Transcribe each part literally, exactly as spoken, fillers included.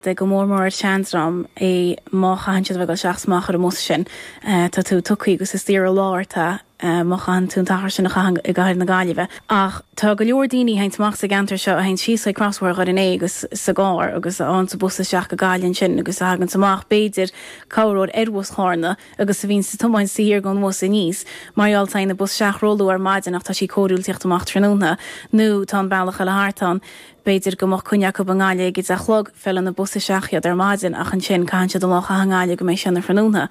De go mór mór ar seandream é má chaitheann siad a bheith ag dul isteach is amach ar an mbus sin. Tá tú tugtha agus is daor an lá ort é má chaitheann tú an t-achar sin a chaitheamh i gcathair na Gaillimhe. Ach tá go leor daoine a théanns amach sa gceantar seo a théanns síos chuig Crosbhóthar Dhoire an Fhéich agus sa gcarr agus a fhaigheanns an bus isteach go Gaillimh ansin agus a thaganns amach b'fhéidir corruair ar bhus Chárna agus a bhíonns ag tiomáint sa thiar gon bhus aníos mar gheall tagann an bus isteach róluath ar maidin ach tá sí cóiriúil tíocht amach tráthnóna nó tá an bealach eile thart ann. B'fhéidir go mbeadh coinne acu i nGaillimh ag a deich a chlog, feileann an bus isteach iad ar maidin ach ansin caitheann siad an lá a chaitheamh i nGaillimh go mbeidh sé ina thráthnóna.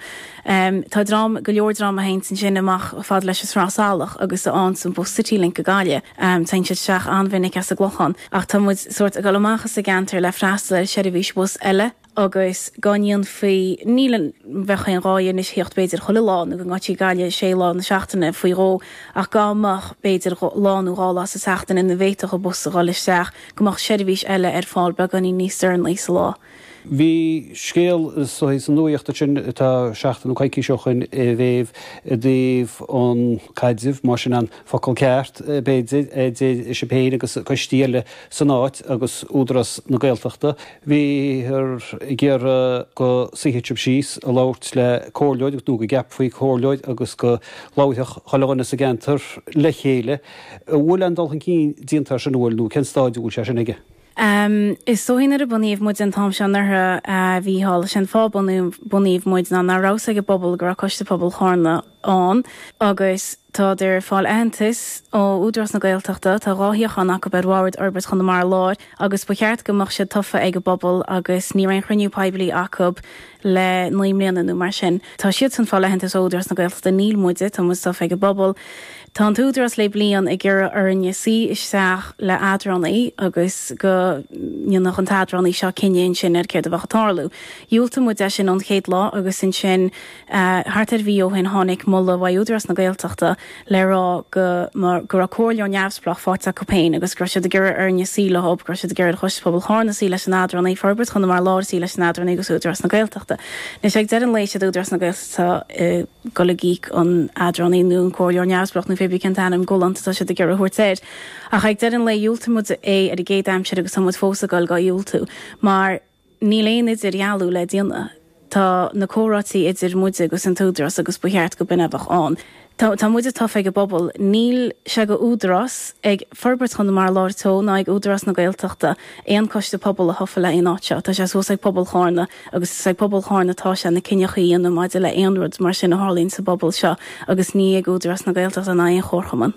Tá dream, go leor dream a théanns ansin amach fad leis an Sraith Salach agus a fhaigheanns an bus Citylink go Gaillimh. Téann siad isteach an-mhinic as an gClochán. Ach tá muid sórt ag dul amach as an gceantar le freastal ar sheirbhís bus eile. agus go ndéanfaí, ní bheadh aon ghá anois theacht b'fhéidir chuile lá nó go ngoití Gaillimh sé lá na seachtaine faoi dhó ach dá mbeadh b'fhéidir lá nó dhá lá sa tseachtain ina bhféadfadh an bus a dhul isteach, go mbeadh seirbhís eile ar fáil beagáinín níos deireanaí sa lá. Bhí scéal sa nuaíocht ansin atá seachtain nó coicís ó shoin a Mhéabh i dtaobh an caidrimh, más sin an focal ceart, b'fhéidir, idir sibh féin agus coistí eile san áit agus Údarás na Gaeltachta. Bhíothar ag iarraidh go suífeadh sibh síos a labhairt le comhairleoir nó go gceapfaí comhairleoir agus go labharfadh chuile dhuine sa gceantar le chéile. An bhfuil aon dul chun cinn déanta air sin, an bhfuil, nó cén stáid a bhfuil sé sin aige? Is dóichí nuair a bunaíodh muid an t-am seo anuraidh, a Mhícheáil, is é an fáth bunaíodh muid ná nach raibh 'fhios ag an bpobal go raibh Coiste Pobail Chárna ann agus tádar ag fáil aitheantas ó Údarás na Gaeltachta, tá dhá shuíochán acu ar Bhord Fhorbairt Chonamara Láir agus ba cheart go mbeadh siad tofa ag an bpobal agus ní raibh aon chruinniú poiblí acu le naoi mbliana nó mar sin. Tá siadsan ag fáil aitheantas ó Údarás na Gaeltachta, níl muide, tá muid tofa ag an bpobal. Tá an t-údarás le bliain ag iarraidh orainne suí isteach le eadránaí agus go ndéanfadh an t-eadránaí seo cinneadh ansin ar céard a bheadh ag tarlú. Dhiúltaigh muid é sin ón chéad lá agus ansin thart ar mhí ó shin tháinig moladh uaidh Údarás na Gaeltachta le rá go go raibh comhairleoir neamhspleách faighte acu féin agus go raibh siad ag iarraidh orainne suí leo, go raibh siad ag iarraidh ar Choiste Pobail Chárna suí leis an eadránaí, Forbairt Chonamara Láir suí leis an eadránaí agus Údarás na Gaeltachta. Anois ag deireadh an lae siad Údarás na Gaeltachta ag dul ag íoc an eadránaí nó an comhairleoir neamhspleách nó pé bith cén t-ainm galánta atá siad ag iarraidh a thabhairt air. Ach ag deireadh an lae dhiúltaigh muid é ar an gcéad aimsir agus tá muid fós ag dul dhá dhiúltú mar níl aon idirdhealú le déanamh. Tá na comhráití idir muide agus an t-údarás agus ba cheart go b'in a bheadh ann. Tá tá muide tofa ag an bpobal. Níl sé go údarás ag Forbairt Chonamara Láir Teo ná ag Údarás na Gaeltachta aon coiste pobail a thofa le aon áit seo. Tá sé suas ag pobal Chárna agus is ag pobal Chárna atá sé na cinneachaí a dhéanamh maidir le aon rud mar sin a tharlaíonn sa bpobal seo agus ní ag Údarás na Gaeltachta ná aon chomharchumann.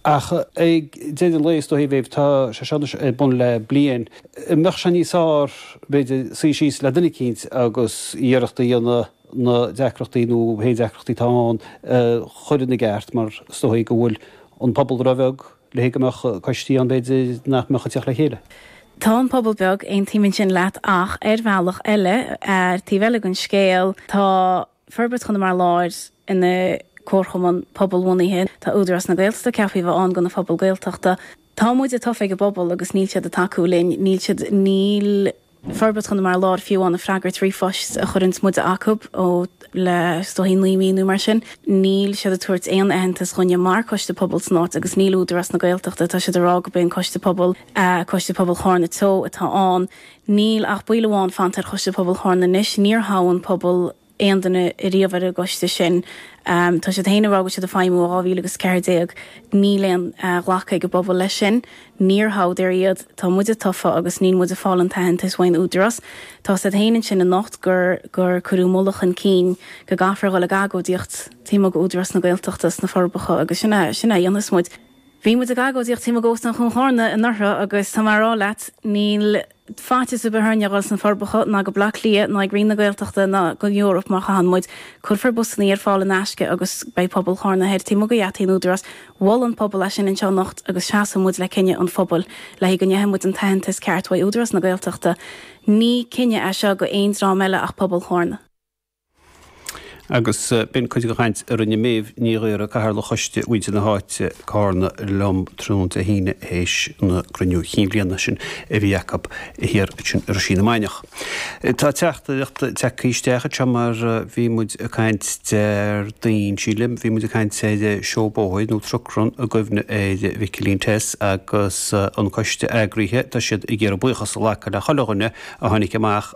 Ach ag deireadh an lae, is dóichí, a Mhéabh, tá sé seo anois ar bun le bliain. An mbeadh sé níos fearr, b'fhéidir, suí síos le duine eicínt agus iarracht a dhéanamh na deacrachtaí nó pé deacrachtaí atá ann a chur ina gceart mar is dóichí go bhfuil an pobal róbheag le go mbeadh coistí ann b'fhéidir nach mbeadh ag teacht le chéile. Tá an pobal beag, aontaím ansin leat ach ar bhealach eile, ar taobh eile den scéal, tá Forbairt Chonamara Láir ina comharchumann pobalbhunaithe, tá Údarás na Gaeltachta ceaptha a bheith ann do na phobail Gaeltachta. Tá muide tofa ag an bpobal agus níl siad ag tacú linn, níl siad, níl. Forbairt Chonamara Láir fiú amháin ag freagairt ríomhphoist a chuireanns muide acu ó le is dóichí naoi mí nó mar sin. Níl siad ag tabhairt aon aitheantas dhúinne mar Coiste Pobail san áit agus níl Údarás na Gaeltachta, tá siad ag rá go b'é an Coiste Pobail, Coiste Pobail Chárna Teo atá ann. Níl ach baill amháin fanta ar Choiste Pobail Chárna anois. Níor thogh an pobal aon duine ariamh ar an gcoiste sin. Tá siad féin ag rá go bhfuil siad ag feidhmiú ó dhá mhíle agus ceathair déag. Níl aon ghlacadh ag an bpobal leis sin. Níor thoghadar iad. Tá muide tofa agus níl muid ag fáil an t-aitheantas uaidh an Údarás. Tá siad féin ansin anocht gur gur cuireadh moladh chun cinn go gcaithfear a dhul ag agóidíocht taobh amuigh d'Údarás na Gaeltachta sna Forbacha agus sin é sin é a dhéanfas muid. Bhí muid ag agóidíocht taobh amuigh d'Óstán Chuan Chárna anuraidh agus tá mé a rá leat, níl faitíos ar bith orainne a dhul sna Forbacha ná go Bleá Cliath ná ag Roinn na Gaeltachta ná don Eoraip má chaitheann muid. Cuirfear busannaí ar fáil in aisce agus beidh pobal Chárna thoir taobh amuigh de gheataí an Údarás. Mhol an pobal é sin anseo anocht agus seasfaidh muid le cinneadh an phobail le go ngeobhaidh muid an t-aitheantas ceart uaidh Údarás na Gaeltachta. Ní cinneadh é seo go aon dream eile ach pobal Chárna. Agus b'in cuid den chaint a rinne Méabh Ní Ghaora, Cathaoirleach Choiste Mhuintir na hÁite, Cárna liom tráthnóna Dé hAoine théis na gcruinniú chinn bhliana sin a bhí acu thiar ansin i Roisín na Mainiach. Tá teachtaireacht tagtha isteach anseo mar bhí muid ag caint Déardaoin, sílim, bhí muid ag caint ar seó bóthair nó truck run i gcuimhne ar Mhicilín Tess agus an coiste eagraithe, tá siad ag iarraidh buíochas a ghlacadh le chuile dhuine a tháinig amach